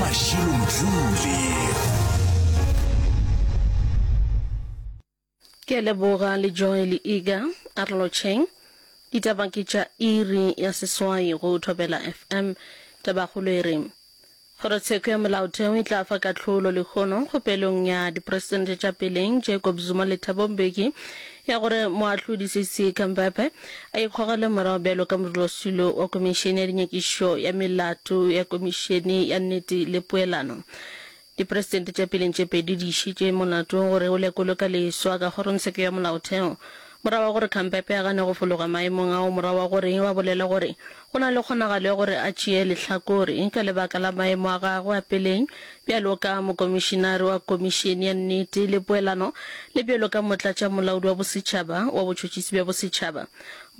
Mashilo Mdluli. Ke a leboga le Joy le Iga. A re lotšheng. Ditaba ke tša iri ya seswai go Thobela FM. Tabakgolo e re, Kgorotsheko ya Molaotheo e tla fa kahlolo lehono kgopelong ya dipresidente tša peleng Jacob Zuma le Thabo Mbeki ya gore moahlodi Sisi Khampepe a ikgogele morago bjalo ka modulasetulo wa Komišene ya Dinyakišišo ya Melato ya Komišene ya Nnete le Poelano. Dipresidente tša peleng tše pedi di išitše molato gore o lekolwe ka leswa ka kgorongtsheko ya molaotheo morago ga gore Khampepe a gane go fologa maemong ao morago ga gore ba bolele gore go na le kgonagalo ya gore a tšee lehlakore ka lebaka la maemo a gagwe a peleng bjalo ka mokomišinare wa Komišene ya Nnete le Poelano le bjalo ka motlatšamolaodi wa bosetšhaba wa botšhotšhisi bja bosetšhaba.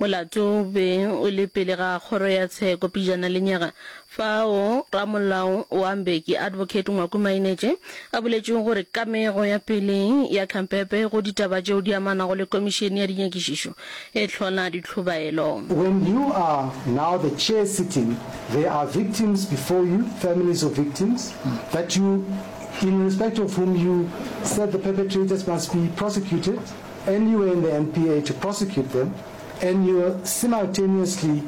Molato o be o le pele ga kgoro ya tsheko pejana lenyaga, fao ramolao wa Mbeki, Advocate Ngwaku Mainetše, a boletšego gore kamego ya peleng ya Khampepe go ditaba tšeo di amanago le komišene ya dinyakišišo e hlola ditlhobaelo. When you are now the chair sitting, there are victims before you, families of victims, that you, in respect of whom you said the perpetrators must be prosecuted, and you were in the NPA to prosecute them, and you simultaneously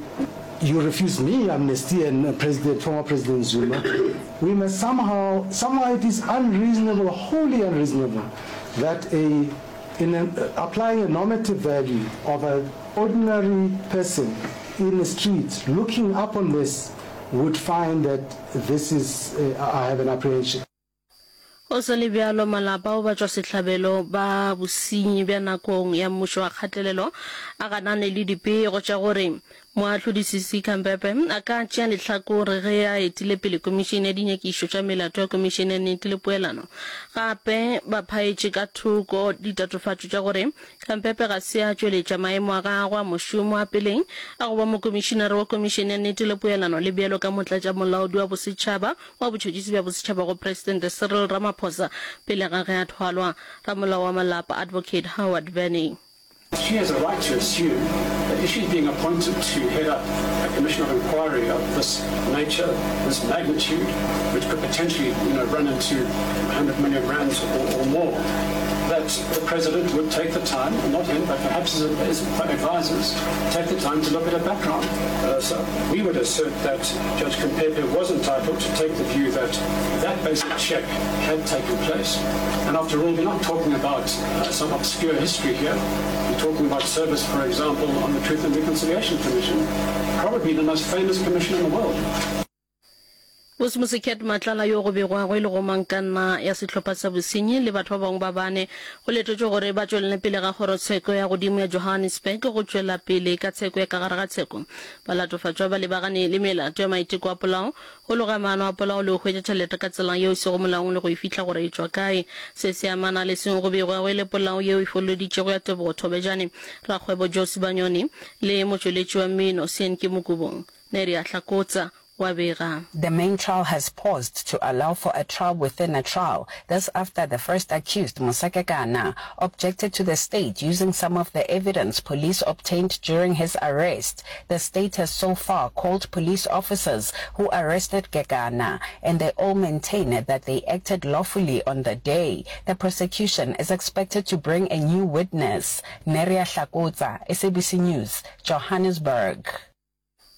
you refuse me amnesty and uh, President, former President Zuma, we must somehow, somehow it is unreasonable, wholly unreasonable, that a, in a, applying a normative value of an ordinary person in the street looking up on this would find that this is, uh, I have an apprehension. Go sa le bjalo, malapa ao batšwasehlabelo ba bosenyi bja nakong ya mmušo wa kgatelelo a ganane le dipego tša gore Moahlodi Sisi Khampepe a ka tšea lehlakore ge a etile pele Komišene ya Dinyakišo tša Melato ya Komišene ya Nnete le Poelano. Gape ba phaetše ka thoko ditatofatšo tša gore Khampepe ga se a tšweletša maemo a gagwe a mošomo a peleng a go ba Mokomišinare wa Komišene ya Nnete le Poelano le bjalo ka Motlatšamolaodi wa Bosetšhaba wa Botšhotšhisi bja Bosetšhaba go Presidente Cyril Ramaphosa pele ga ge a thwalwa Ramolao wa Malapa Advocate Howard Benny. She has a right to assume that if she's being appointed to head up a commission of inquiry of this nature, this magnitude, which could potentially, you know, run into 100 million rands or, or more, that the president would take the time, not him, but perhaps his, his advisors, take the time to look at her background. Uh, so we would assert that Judge Khampepe was entitled to take the view that that basic check had taken place. And after all, we're not talking about uh, some obscure history here. We're talking about service, for example, on the Truth and Reconciliation Commission, probably the most famous commission in the world. Bose Mosekhet Matlala yo go begwago e le gomangkanna ya sehlopha sa bosenyi le batho ba bangwe ba bane go letetšwe gore ba tšwelele pele ga kgorotsheko ya godimo ya Johannesburg go tšwela pele ka tsheko ya ka gare ga tsheko. Balatofatšwa ba lebagane le melato ya maiteko a polao, go loga maano a polao le go hwetša tšhelete ka tsela yeo e sego molaong le go e fihla gore e tšwa kae. Se se amana le seo go begwago e le polao yeo e fololeditšego ya Tebogo Thobejane, rakgwebo Joe Sibanyoni le motšweletši wa mmino Sean Kimokubong. Neria Hlakotsa wa bega. The main trial has paused to allow for a trial within a trial. This after the first accused, Musa Kekana, objected to the state using some of the evidence police obtained during his arrest. The state has so far called police officers who arrested Kekana, and they all maintain that they acted lawfully on the day. The prosecution is expected to bring a new witness. Neria Hlakotsa, SABC News, Johannesburg.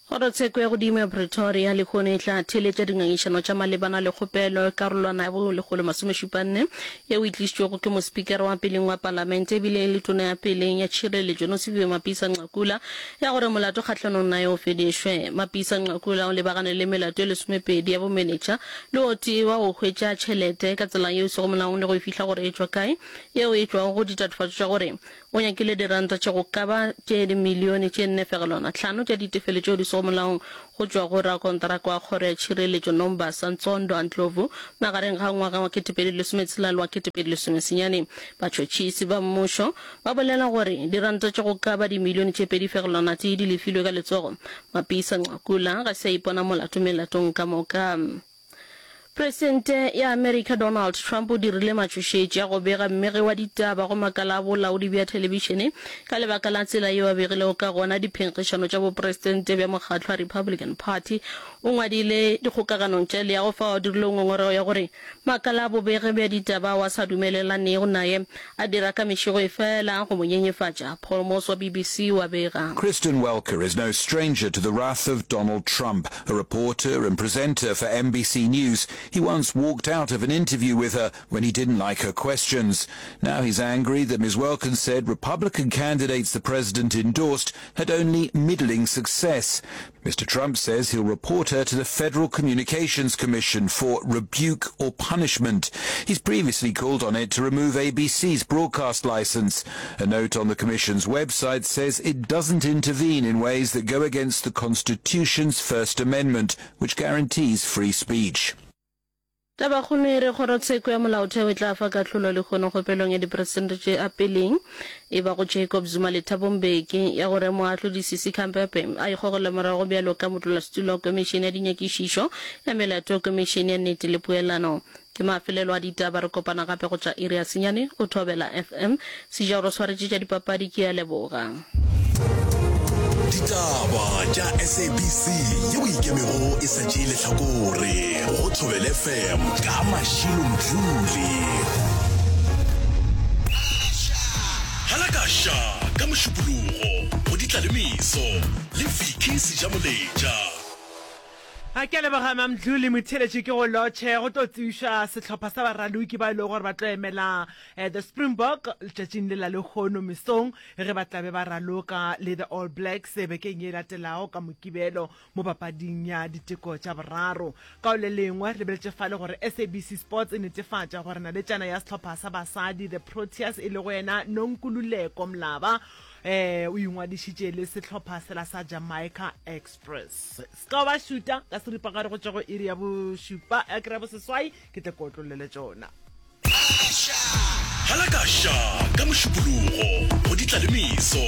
Kgorotsheko ya Godimo ya Pretoria lehono e tla theeletša dingangišano tša malebana le kgopelo ya karolwana ya bo 174 yeo e tlišitšwego ke mospikara wa peleng wa palamente ebile e le tona ya peleng ya tšhireletšo Nosiviwe Mapisa Nqakula ya gore molato kgahlanong naye o fedišwe. Mapisa Nqakula o lebagane le melato e lesomepedi ya bomenetša le o tee wa go hwetša tšhelete ka tsela yeo e sego molaong le go e fihla gore e tšwa kae yeo e tšwago go ditatofatšo tša gore O nyakile diranta tše go ka ba tše dimilione tše nne fegelwana tlhano tša ditefelo tšeo di sego molaong go tšwa go rakonteraka wa Kgoro ya Tšhireletšo Nombasa Ntsondo Ndlovu magareng ga ngwaga wa 2016 le wa 2019. Batšhotšhisi ba mmušo ba bolela gore diranta tše go ka ba dimilione tše pedi fegelwana tee di lefilwe ka letsogo. Mapisa Nqakula ga se a ipona molato melatong ka moka. Presidente ya Amerika Donald Trump o dirile matšhošetši a go bega mmegi wa ditaba go makala a bolaodi bja thelebišene ka lebaka la tsela yeo a begilego ka gona diphenkgišano tša bopresidente bja mokgatlo wa Republican Party. O ngwadile dikgokaganong tša leago fao a dirilego ngongorego ya gore makala a bobegi bja ditaba ao a sa dumelelanego naye a dira ka mešego efela go mo nyenyefatša. Paul Moss wa BBC o a bega. Kristen Welker is no stranger to the wrath of Donald Trump. A reporter and presenter for NBC News, he once walked out of an interview with her when he didn't like her questions. Now he's angry that Ms. Welker said Republican candidates the president endorsed had only middling success. Mr. Trump says he'll report her to the Federal Communications Commission for rebuke or punishment. He's previously called on it to remove ABC's broadcast license. A note on the commission's website says it doesn't intervene in ways that go against the Constitution's First Amendment, which guarantees free speech. Tabakgolo e re Kgorotsheko ya Molaotheo e tla fa kahlolo lehono kgopelong ya diperesente tše a peleng e bago Jacob Zuma le Thabo Mbeki ya gore moahlodi Sisi Khampepe a ikgogele morago bjalo ka modulasetulo wa Komišene ya Dinyakišišo ya Melato Komišene ya Nnete le Poelano. Ke mafelelo a ditaba, re kopana gape go tša iri ya senyane go Thobela FM. Sejaro o swaretše tša dipapadi, ke a leboga. Ditaba tša SABC yeo e ikemego e sa tšee lehlakore go Thobela FM ka Mashilo Mdluli. Halakasha ka Mošupologo go Ditlalemeso le Vicky Sejamoletša. A ke a leboga Mamdluli Motheeletši ke go lotšhe go tlo tsebišwa sehlopha sa baraloki ba e lego gore ba tlo emela eh, the Springbok letšatšing le la lehono mesong ge ba tlabe ba raloka le the All Blacks eh, bekeng ye latelago ka Mokibelo mo papading ya diteko tša boraro. Ka o le lengwe re lebeletše fale gore SABC Sports e netefatša gore naletšana ya sehlopha sa basadi the Proteas e lego yena Nonkululeko Mlaba eh, o ingwadišitše le sehlopha sela sa Jamaica Express. Se ka ba šuta ka seripagare go tšwa go iri ya bošupa ya kry boseswai ke tle ke otlollele tšona. Halakasha ka Mošupologo go Ditlalemeso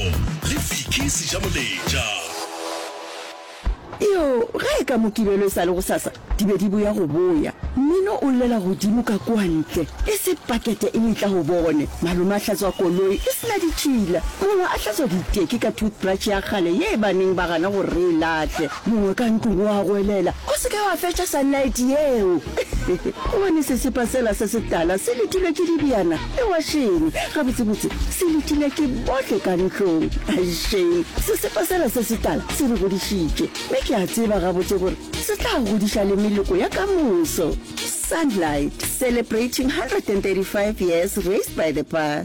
le Vicky Sejamoletša. Iyoo, ge e ka Mokibelo e sa le gosasa, di be di boya go boya. Mmino o llela godimo ka kua ntle, e se pakete e etla go bone. Malome a hlatswa koloi e se na ditšhila, mongwe a hlatswa diteki ka toothbrush ya kgale ye ba neng ba gana gore re e lahle. Mongwe ka ntlong o a goelela, O se ke wa fetša Sunlight yeo! Gobane sesepa sela se setala se letilwe ke dibjana le wašene. Gabotsebotse, se letilwe ke bohle ka ntlong. Shame, sesepa sela se setala se re godišitše, mme ke a tseba gabotse gore se tla godiša le meloko ya ka moso. Sunlight, celebrating 135 years raised by the pa.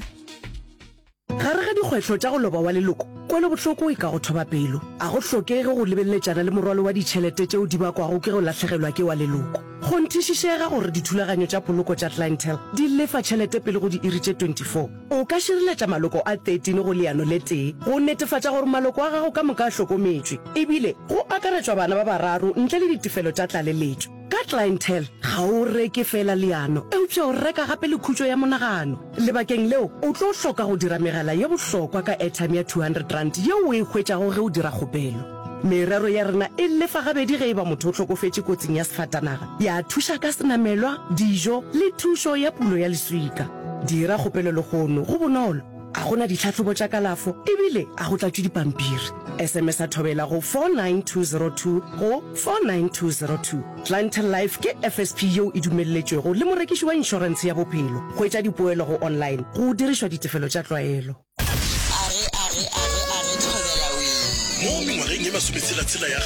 Gare ga dikgwehlo tša go loba wa leloko, kwelobohloko e ka go thoba pelo. A go hlokege go lebeleletšana le morwalo wa ditšhelete tšeo di bakwago ke go lahlegelwa ke wa leloko. Kgonthišišega gore dithulaganyo tša poloko tša Clientele di lefa tšhelete pele go diiri tše 24. O ka šireletša maloko a 13 go leano le tee go netefatša gore maloko a gago ka moka a hlokometšwe, ebile go akaretšwa bana ba bararo ntle le ditefelo tša tlaleletšo. Ka Clientele, ga o reke feela leano, eupša o reka gape le khutšo ya monagano. Lebakeng leo, o tlo hloka go dira megala ye bohlokwa ka airtime ya R200 yeo o e hwetšago ge o dira kgopelo. Merero ya rena e lefa gabedi ge e ba motho o hlokofetše kotsing ya sefatanaga, ya thuša ka senamelwa, dijo le thušo ya pulo ya leswika. Dira kgopelo lehono, go bonolo, ga go na ditlhahlobo tša kalafo ebile ga go tlatšwe dipampiri. SMS-a Thobela go 49202 go 49202. Clientele Life ke FSP yeo e dumelletšwego le morekiši wa inšorentshe ya bophelo. Hwetša dipoelo go online go dirišwa ditefelo tša tlwaelo. Arre, arre, arre, arre, thobela wee. Mo mengwageng ye masometshela-tshela ya.